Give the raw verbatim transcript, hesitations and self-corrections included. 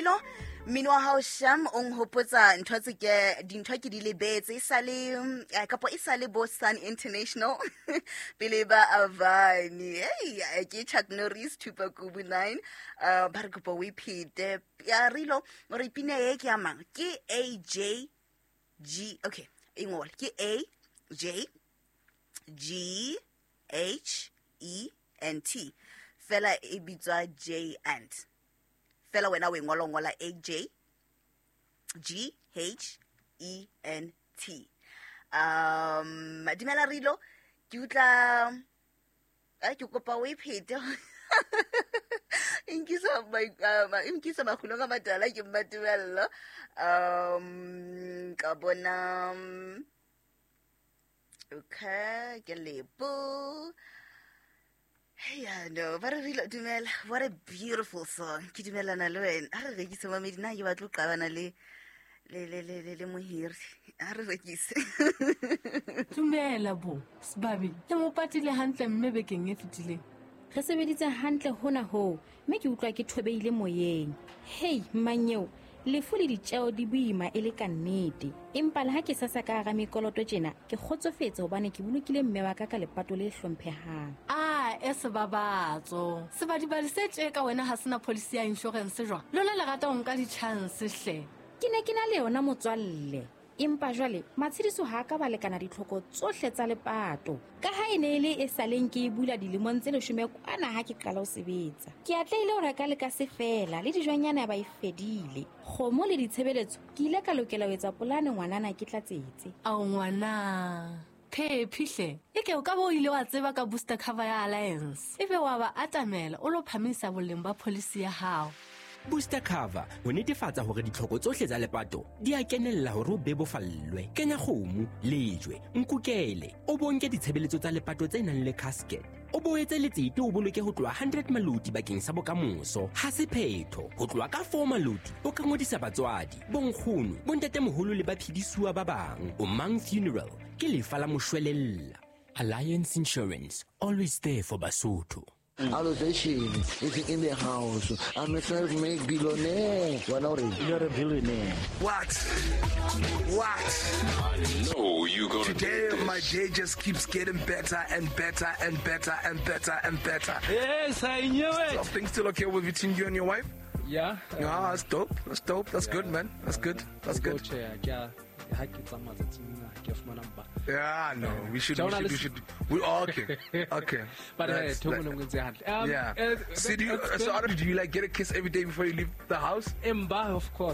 Rilo, mmino wa hao sham o nhopotsa ntho tse ke dintho ke di lebetse e sale mm, eh, kapo e sale bo Sun International pele ba Avani. Hey, eh, ke Chuck Norris Tupac Kubu nine. Uh, ba re kopa o iphete. Ya Rilo, o re pina e ke ya mang? Ke A J G, okay, e ngole. Ke A J G H E N T. Fela e bitswa J and. Fela wena o e ngola, o ngola A J G H E N T. Um, dumela Rilo, ke utlwa, a ke kopa o e phete. E nkisa mai- um, e nkisa makgulong a matala ke Mmatebello. Um, ka bona, um, okay, ke Lebo. Yeah, no, ba re Rilo, dumela. What a beautiful song. Ke dumelana le wena. Ha re rekise mamedi, nna ke batla ho qabana le le le le le le mohiri. Ha re rekise. Dumela bo, Sebabi. Le mo patile hantle mme bekeng e fetileng. Re sebeditse hantle hona hoo, mme ke utlwa ke thobeile moyeng. Hei, mmanyeo, lefu le ditjeo di boima e le ka nnete. Empa le ha ke sasa ka hara mekoloto tjena, ke kgotsofetse hobane ke bolokile mme wa ka ka lepato le hlomphehang. Ah, e sebabatso. Sebadibadi se tje ka wena ha sena policy ya insurance jwang? Lona le rata ho nka di-chance hle. Ke ne ke na le yona motswalle. Empa jwale matshediso ha a ka ba lekana ditlhoko tsohle tsa lepato. Ka ha e ne e le e saleng ke e bula dilemong tse leshome kwana ha ke qala ho sebetsa. Ke atlehile ho reka le ka se fela le dijonyana ba e fedile. Kgomo le ditshebeletso ke ile ka lokela ho etsa polane ngwanana ke tlatsetse. Ao ngwana. Phephi hle. Eke o ka bo o ile wa tseba ka booster cover ya Alliance. Ebe wa ba atamela o lo phamisa boleng ba policy ya hao. Booster cover ho netefatsa hore ditlhoko tsohle tsa lepato di a kenella hore o bebofallwe. Kenya kgomo, lejwe, nkukele, o bonke ditshebeletso tsa lepato tse nang le casket. O boetse letsete o boloke ho tloha hundred maloti bakeng sa bokamoso. Ha se phetho, ho tloha ka four maloti o ka ngodisa batswadi, bonkgono, bontatemoholo le baphedisuwa ba bang. O Mang Funeral ke lefa la moshwelella. Alliance Insurance, always there for Basotho. Allocation is in the house. I'm a self-made billionaire. Wena o reng? You're a billionaire. What? What? I know you gonna Today, do this. my day just keeps getting better and better and better and better and better. Yes, I knew it. Are things still okay with between you and your wife? Yeah. Yeah, that's dope. That's dope. That's good, man. That's good. That's good. Ha ke tsamaya tsatsing lena, ha ke a fumana mpa. Yeah, no, we should, we should, we should. We all okay. Okay. But, uh, That's Thomo like Nongwe ntse hantle. Um, Yeah. uh, So do you, it's so been do you like get a kiss every day before you leave the house? Emba, of course.